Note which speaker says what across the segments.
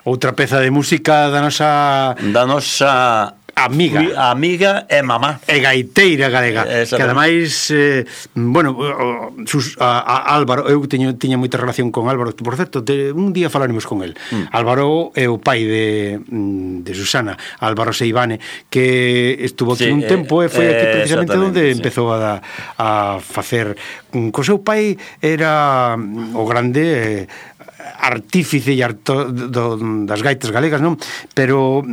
Speaker 1: outra peza de música da nosa
Speaker 2: amiga e mamá
Speaker 1: e gaiteira galega, que ademais Álvaro, eu tiña moita relación con Álvaro, por certo, un día falaremos con el. Álvaro é o pai de Susana, Álvaro Seivane, que estuvo aquí un tempo e foi aquí precisamente onde empezou a facer. Co seu pai era o grande artífice das gaitas galegas, non? Pero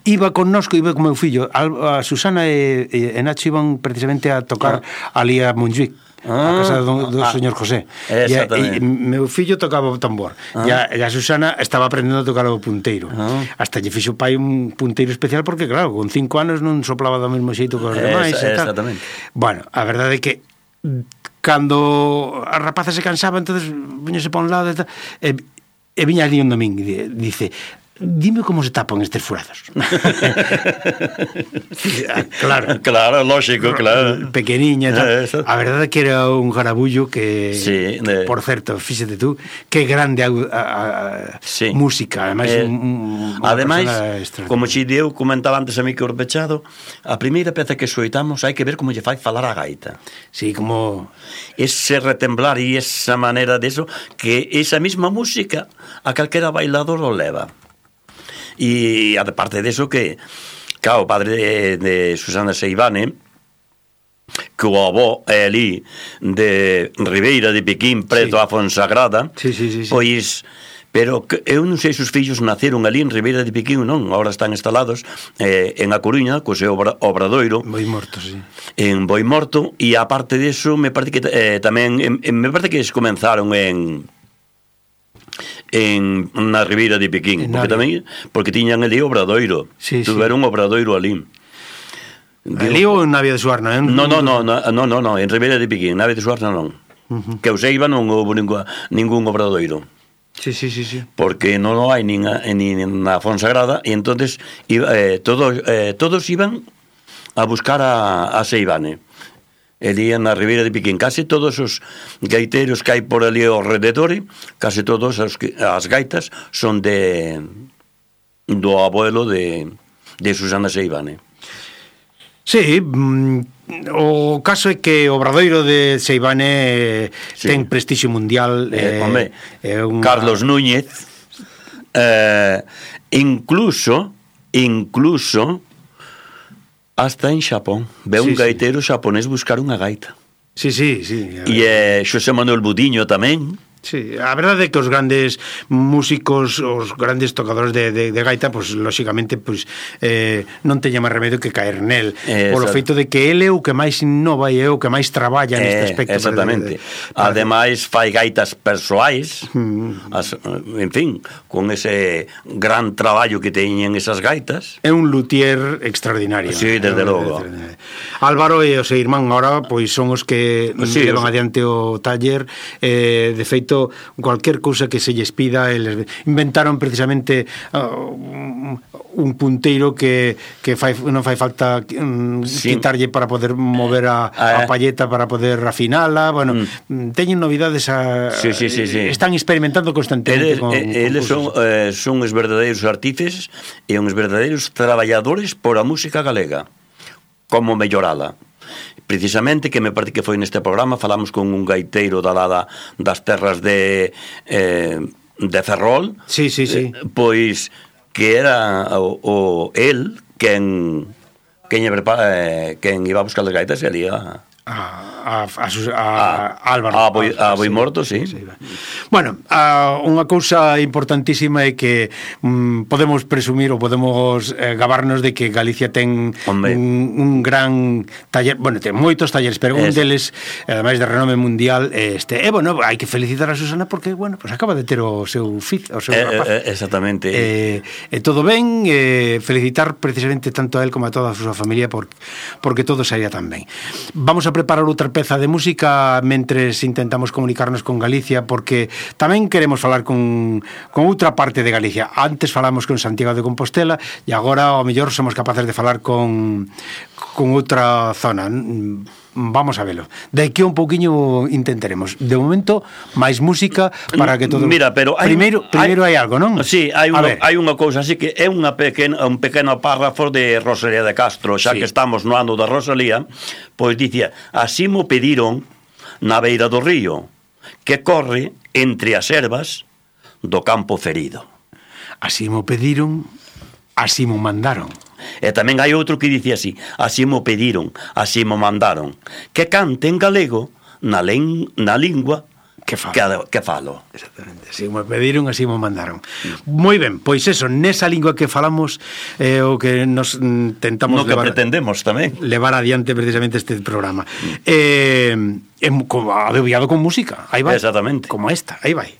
Speaker 1: iba connosco, iba con meu fillo. A Susana e Nacho iban precisamente a tocar ali a Montjuic, a casa do señor José. E meu fillo tocaba o tambor e a Susana estaba aprendendo a tocar o punteiro. Hasta lle fixo o pai un punteiro especial porque, claro, con 5 anos non soplaba do mesmo xeito que os demais.
Speaker 2: Exactamente.
Speaker 1: Bueno, a verdade é que cando a rapaza se cansaba, entonces viñose para un lado e viña ali un domingo e dice: dime como se tapan estes furados.
Speaker 2: Claro, lógico, claro.
Speaker 1: Pequeniña, a verdade é que era un garabullo que, por certo, fíxate tú, que grande música.
Speaker 2: Ademais, como xe eu comentaba antes a mí que o repechado, a primeira peza que soitamos hai que ver como lle fai falar a gaita.
Speaker 1: Sí, como
Speaker 2: ese retemblar e esa manera de eso, que esa mesma música a calquera bailador o leva. E aparte de eso que, claro, o padre de Susana Seivane, que o avó é ali de Ribeira de Piquín, preto a Fonsagrada, pois, pero eu non sei se os fillos naceron ali en Ribeira de Piquín, non, agora están instalados en A Coruña, co seu obradoiro
Speaker 1: Boimorto, sí,
Speaker 2: en Boimorto, e aparte de eso me parece que tamén me parece que comenzaron na Ribeira de Piquín, porque tiñan ali obradoiro, tuveron un obradoiro ali.
Speaker 1: Ali ou en Navia de Suarna?
Speaker 2: Non, en Ribeira de Piquín, Navia de Suarna non. Que eu seiba non houve ningún obradoiro.
Speaker 1: Sí.
Speaker 2: Porque non hai nin na Fonsagrada, e entonces todos iban a buscar a Seivane. Elí na Ribeira de Piquín, case todos os gaiteiros que hai por ali ao rededor, case todos as gaitas son do abuelo de Susana Seivane.
Speaker 1: Sí, o caso é que o obradoiro de Seivane ten prestixio mundial.
Speaker 2: Carlos Núñez incluso hasta en Xapón ve un gaiteiro xaponés buscar unha gaita.
Speaker 1: Sí.
Speaker 2: E Xosé Manuel Budiño tamén.
Speaker 1: Sí, a verdade é que os grandes músicos, os grandes tocadores de gaita, pues lógicamente non teña máis remedio que caer nel, polo feito de que ele é o que máis innova e é o que máis traballa neste aspecto.
Speaker 2: Exactamente. Ademais fai gaitas persoais, en fin, con ese gran traballo que teñen esas gaitas.
Speaker 1: É un luthier extraordinario.
Speaker 2: Sí, desde logo.
Speaker 1: Álvaro e o seu irmán agora pois son os que levan adiante o taller. De feito, cualquier cousa que se lles pida, eles inventaron precisamente un punteiro que non fai falta quitarlle para poder mover a palleta para poder afinala. Bueno, teñen novidades están experimentando constantemente.
Speaker 2: Eles son os verdadeiros artífices e uns verdadeiros traballadores por a música galega, como mellorala. Precisamente, que me parece que foi neste programa, falamos con un gaiteiro das terras de Ferrol.
Speaker 1: Sí.
Speaker 2: Pois que era el quen iba a buscar as gaitas e ali a Álvaro a Boimorto, sí.
Speaker 1: Bueno, unha cousa importantísima é que podemos presumir ou podemos gabarnos de que Galicia ten un gran taller, bueno, ten moitos talleres, pero un deles, ademais de renome mundial, bueno, hai que felicitar a Susana porque, bueno, pues acaba de ter o seu rapaz.
Speaker 2: Exactamente.
Speaker 1: Todo ben, felicitar precisamente tanto a él como a toda a súa familia porque todo saía tan ben. Vamos a preparar outra peza de música mentres intentamos comunicarnos con Galicia, porque tamén queremos falar con outra parte de Galicia. Antes falamos con Santiago de Compostela e agora ao mellor somos capaces de falar con outra zona. vamos a velo. De aquí un pouquiño intentaremos. De momento, máis música para que todo...
Speaker 2: Mira, pero
Speaker 1: primeiro hai algo, non?
Speaker 2: Sí, hai unha cousa así que é un pequeno párrafo de Rosalía de Castro, xa que estamos no ano da Rosalía, pois dicía: así mo pediron na beira do río, que corre entre as ervas do campo ferido.
Speaker 1: Así mo pediron, así mo mandaron.
Speaker 2: E tamén hai outro que dice así: así mo pediron, así mo mandaron, que cante en galego na lingua que falo.
Speaker 1: Exactamente, así mo pediron, así mo mandaron. Moi ben, pois eso, nesa lingua que falamos, o que nos tentamos
Speaker 2: que pretendemos tamén
Speaker 1: levar adiante precisamente este programa. Adebiado con música, aí vai.
Speaker 2: Exactamente.
Speaker 1: Como esta, aí vai.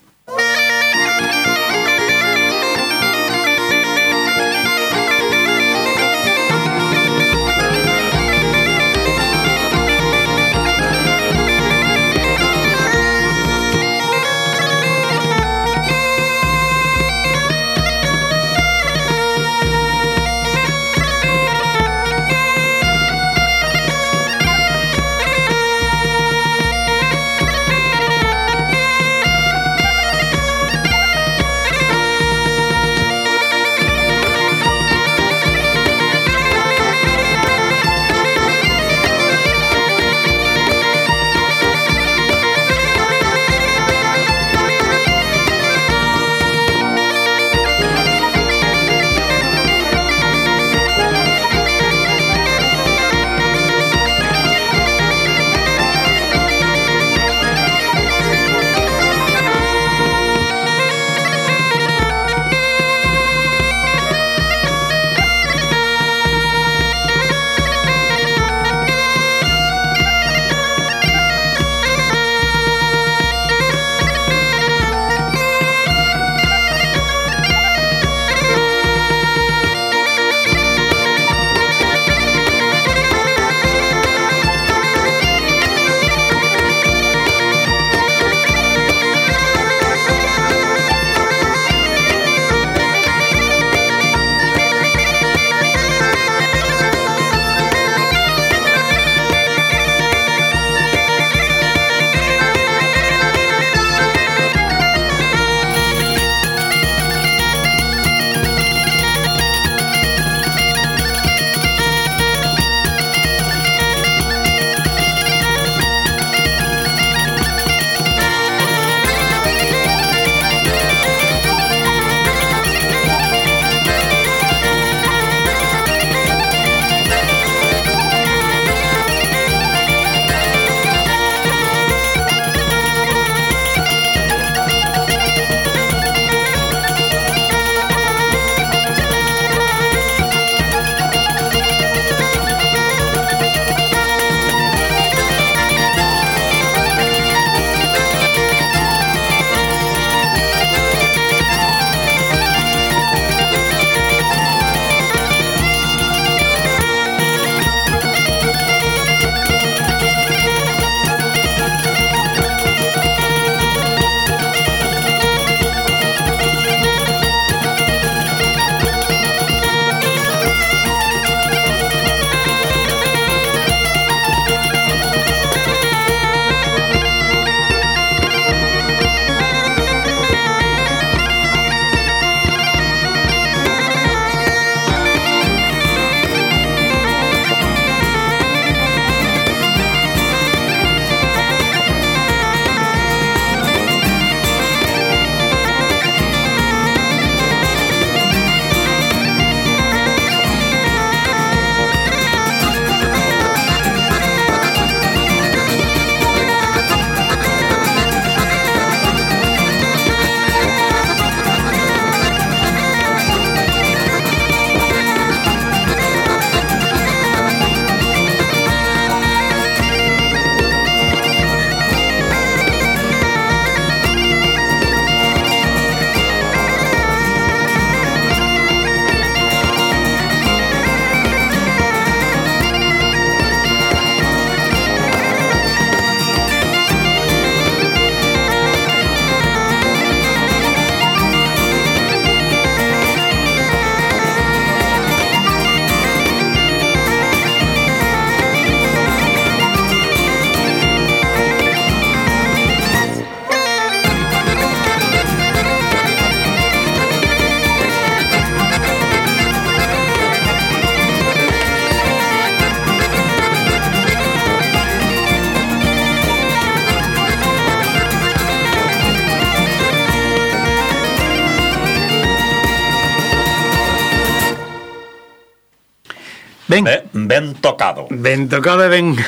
Speaker 2: ben tocado.
Speaker 1: Ben tocado e ben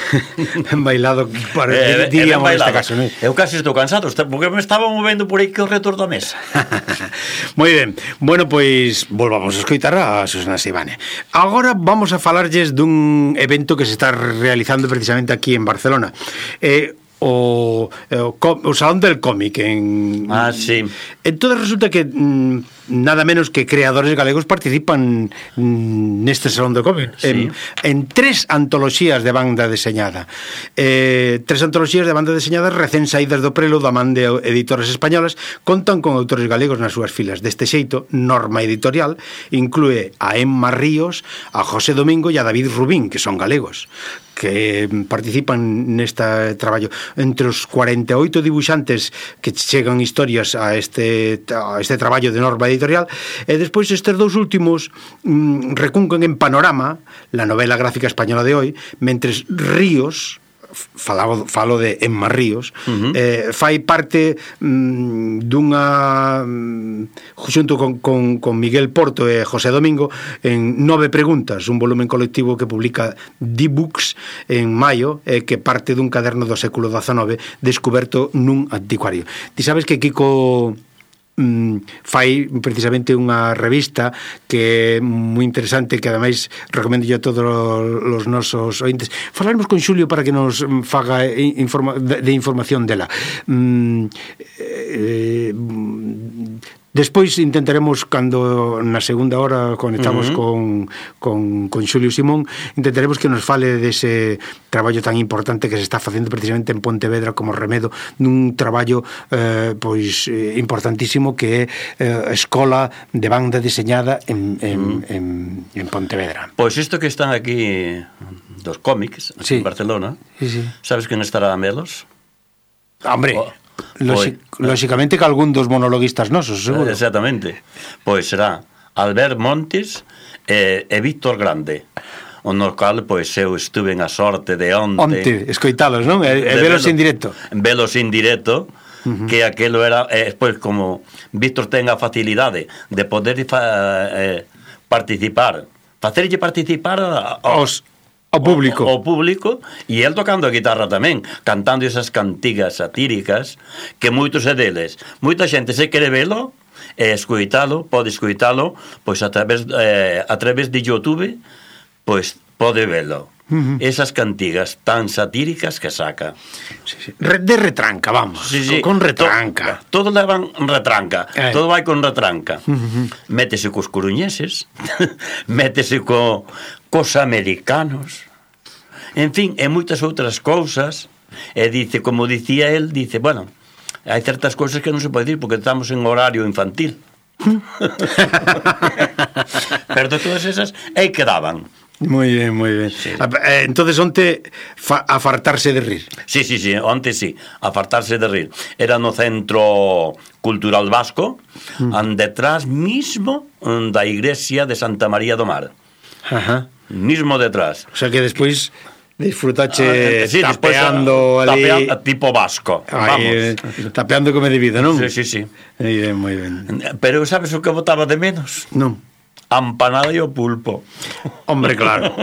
Speaker 1: bailado, diríamos neste caso, non?
Speaker 2: Eu casi estou cansado, porque me estaba movendo por aí que o retor da mesa.
Speaker 1: Moi ben. Bueno, pois volvamos a escoitar a Susana Seivane. Agora vamos a falarlles dun evento que se está realizando precisamente aquí en Barcelona. O Salón del Cómic
Speaker 2: sí.
Speaker 1: Entonces resulta que nada menos que creadores galegos participan neste Salón del Cómic, sí. en 3 antoloxías de banda deseñada, 3 antoloxías de banda deseñada recén saídas do prelo da man de editoras españolas, contan con autores galegos nas súas filas. Deste xeito, Norma Editorial inclúe a Emma Ríos, a José Domingo e a David Rubín, que son galegos, que participan neste traballo. Entre os 48 dibuixantes que chegan historias a este traballo de Norma Editorial, e despois estes 2 últimos recuncan en Panorama, la novela gráfica española de hoy, mentres Ríos, falo de Emma Ríos, fai parte dunha xunto con Miguel Porto e José Domingo en 9 preguntas, un volumen colectivo que publica D-Books en maio, que parte dun caderno do século XIX descoberto nun anticuario. Ti sabes que Kiko fai precisamente unha revista que é moi interesante, que ademais recomendo yo a todos os nosos ointes. Falaremos con Xulio para que nos faga de información dela. Despois intentaremos, cando na segunda hora conectamos con Xulio Simón, intentaremos que nos fale dese traballo tan importante que se está facendo precisamente en Pontevedra como remedo dun traballo importantísimo que é a Escola de Banda Deseñada en Pontevedra.
Speaker 2: Pois isto que están aquí dos cómics en Barcelona, sabes quen estará a melos?
Speaker 1: Hombre, lóxicamente que algún dos monologuistas nosos, seguro.
Speaker 2: Exactamente. Pois será Albert Montes e Víctor Grande, no cal pois eu estuve a sorte de onte
Speaker 1: escoitalos, non? E velos en directo.
Speaker 2: Velos en directo, que aquelo era, pois como Víctor ten a facilidade de poder participar, facerlle participar ao público, e el tocando a guitarra tamén, cantando esas cantigas satíricas que moitos deles, moita xente se quere velo e pode escoitalo pois a través de YouTube, pois pode velo. Esas cantigas tan satíricas que saca.
Speaker 1: De retranca, vamos. Con retranca.
Speaker 2: Todo levan retranca. Todo vai con retranca. Métese cos coruñeses, métese cos americanos, en fin, e moitas outras cousas. E dice, como dicía el, dice, bueno, hai certas cousas que non se pode dir porque estamos en horario infantil. Pero todas esas aí quedaban.
Speaker 1: Moi ben, moi ben. Sí. Entonces onte a fartarse de rir.
Speaker 2: Sí, onte sí, a fartarse de rir. Era no Centro Cultural Vasco, detrás mismo da iglesia de Santa María do Mar. Mismo detrás.
Speaker 1: O sea que despois disfrutache tapeando ali
Speaker 2: tipo vasco.
Speaker 1: Vamos. Tapeando como de vida, non?
Speaker 2: Sí.
Speaker 1: Moi ben.
Speaker 2: Pero sabes o que botaba de menos?
Speaker 1: Non.
Speaker 2: Ampanada e o pulpo.
Speaker 1: Hombre, claro,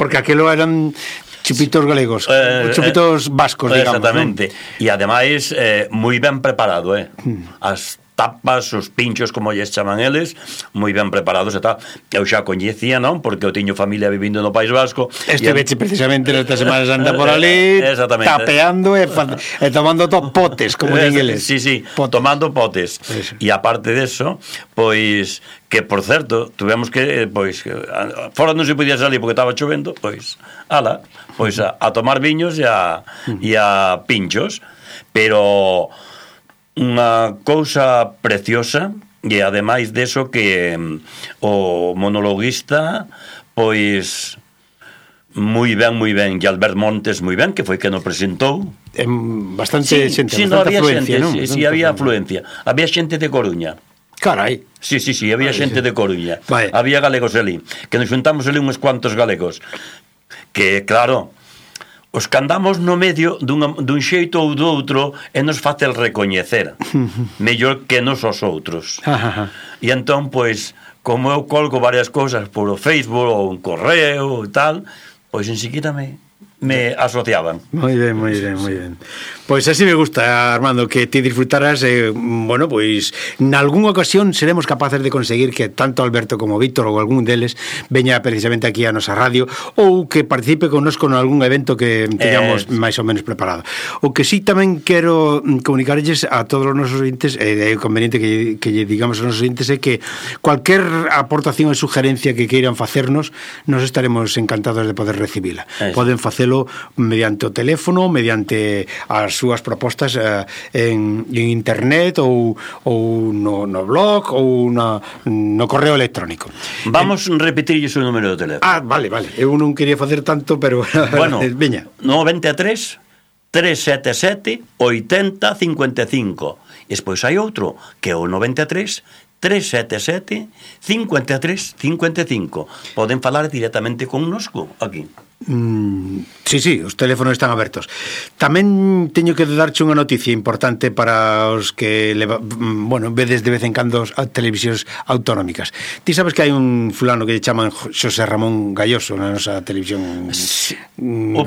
Speaker 1: porque aquilo eran chupitos galegos, chupitos vascos, digamos.
Speaker 2: Exactamente. E ademais moi ben preparado, as tapas, os pinchos, como lles chaman eles, moi ben preparados e tal. Eu xa coñecía, non? Porque eu tiño familia vivindo no País Vasco.
Speaker 1: Veche precisamente nesta Semana Santa por ali, tapeando e tomando potes, como en inglés.
Speaker 2: Sí, tomando potes. E aparte deso, pois, que por certo, tuvemos que, pois, fora non se podía salir porque estaba chovendo, pois, pois a tomar viños e a pinchos. Pero unha cousa preciosa, e ademais deso que o monologuista pois moi ben, e Albert Montes moi ben, que foi que nos presentou
Speaker 1: bastante xente, bastante afluencia, non?
Speaker 2: Sí, había afluencia, había xente de Coruña.
Speaker 1: Carai.
Speaker 2: Sí, había xente de Coruña. Había galegos ali, que nos xuntamos ali uns cuantos galegos, que claro, os que andamos no medio dun xeito ou do outro e nos facel recoñecer mellor que nos os outros. E entón, pois, como eu colgo varias cousas polo Facebook ou un correo e tal, pois enseguida me asociaban.
Speaker 1: Moi ben, moi ben, moi ben. Pois así me gusta, Armando, que te disfrutaras, bueno, pois nalgúnha ocasión seremos capaces de conseguir que tanto Alberto como Víctor ou algún deles veña precisamente aquí a nosa radio ou que participe connosco en algún evento que teñamos máis ou menos preparado. O que sí tamén quero comunicarlles a todos os nosos ointes, é conveniente que lle digamos aos nosos ointes, é que cualquier aportación e sugerencia que queiran facernos, nos estaremos encantados de poder recibila. Poden facelo mediante o teléfono, mediante as súas propostas en internet ou no blog ou no correo electrónico.
Speaker 2: Vamos repetirlles o número de teléfono.
Speaker 1: Vale. Eu non quería facer tanto, pero
Speaker 2: bueno,
Speaker 1: veña.
Speaker 2: 93 377 80 55. E despois hai outro que é o 93 377 53 55. Poden falar directamente connosco aquí.
Speaker 1: Sí, os teléfonos están abertos. Tamén teño que darche unha noticia importante para os que vedes de vez en cando as televisións autonómicas. Ti sabes que hai un fulano que lle chaman Xosé Ramón Galloso na nosa televisión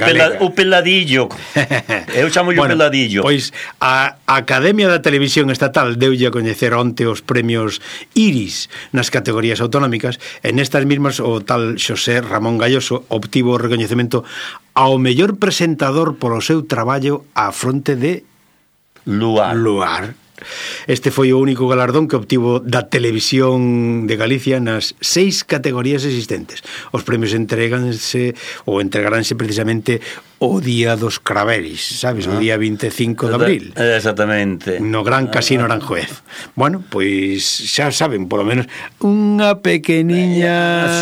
Speaker 1: galega.
Speaker 2: O peladillo. Eu chamo o peladillo.
Speaker 1: Pois a Academia da Televisión Estatal deulle a coñecer onte os premios Iris nas categorías autonómicas, e nestas mismas o tal Xosé Ramón Galloso obtivo o recoñecemento ao mellor presentador polo seu traballo á fronte de Luar. Este foi o único galardón que obtivo da Televisión de Galicia nas 6 categorías existentes. Os premios entregaránse precisamente o día dos Craveris, sabes? O día 25 de abril.
Speaker 2: Exactamente.
Speaker 1: No Gran Casino Aranjuez. Bueno, pois xa saben, polo menos unha pequeniña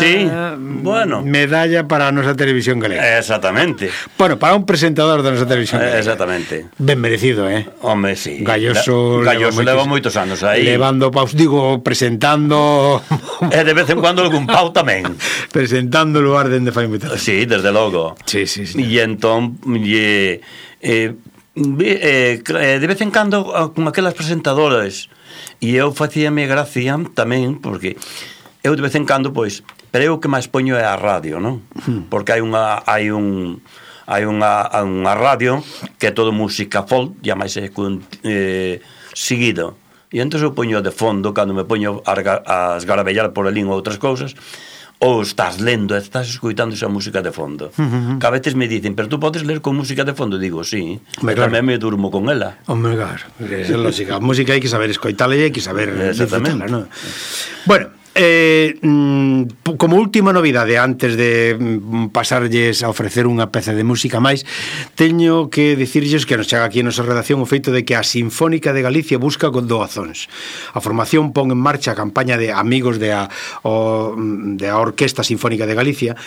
Speaker 1: medalla para a nosa televisión galega.
Speaker 2: Exactamente.
Speaker 1: Bueno, para un presentador da nosa televisión galega.
Speaker 2: Exactamente.
Speaker 1: Ben merecido,
Speaker 2: Home, sí.
Speaker 1: Galloso
Speaker 2: leva moitos anos aí.
Speaker 1: Levando paus, presentando...
Speaker 2: E de vez en cuando algún pau tamén.
Speaker 1: Presentando o lugar dende fai moito.
Speaker 2: Sí, desde logo.
Speaker 1: Sí.
Speaker 2: E entón de vez en cando con aquelas presentadoras, e eu facíame gracia tamén porque eu de vez en cando pero eu que máis poño é a radio, non? Porque hai unha radio que é todo música folk, e máis seguido, e entón eu poño de fondo cando me poño a esgarabellar por alín ou outras cousas, ou estás lendo e estás escoitando esa música de fondo. Que a veces me dicen, pero tú podes ler con música de fondo? Digo, sí, tamén me durmo con ela.
Speaker 1: Hombre, claro, é lógica. A música hai que saber escoitala e hai que saber disfrutarla, non? Bueno, como última novidade, antes de pasarlles a ofrecer unha peza de música máis, teño que dicirlles que nos chega aquí a nosa redacción o feito de que a Sinfónica de Galicia busca con doazóns. A formación pon en marcha a campaña de amigos de a Orquesta Sinfónica de Galicia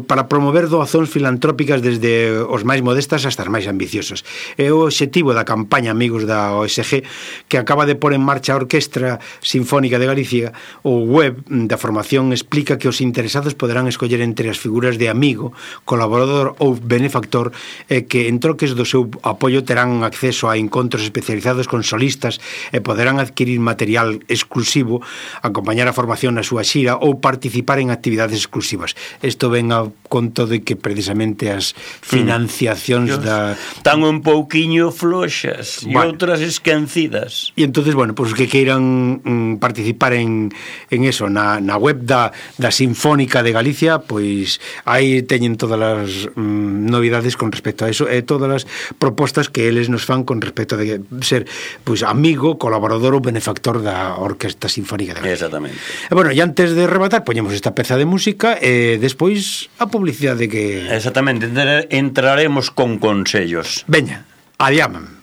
Speaker 1: para promover doazóns filantrópicas desde os máis modestas hasta as máis ambiciosas. É o obxectivo da campaña Amigos da OSG, que acaba de pôr en marcha a Orquestra Sinfónica de Galicia. O web da formación explica que os interesados poderán escoller entre as figuras de amigo, colaborador ou benefactor, e que en troques do seu apoio terán acceso a encontros especializados con solistas e poderán adquirir material exclusivo, acompañar a formación na súa xira ou participar en actividades exclusivas. Isto ven a conto de que precisamente as financiacións
Speaker 2: están un pouquiño floxas e outras esquecidas.
Speaker 1: E entonces, pues que queiran participar en eso, na web da Sinfónica de Galicia, pois aí teñen todas as novidades con respecto a eso e todas as propostas que eles nos fan con respecto de ser amigo, colaborador ou benefactor da Orquesta Sinfónica de Galicia.
Speaker 2: Exactamente.
Speaker 1: E antes de rematar, poñemos esta peza de música e despois a publicidade que...
Speaker 2: Exactamente, entraremos con consellos.
Speaker 1: Veña, adiaman.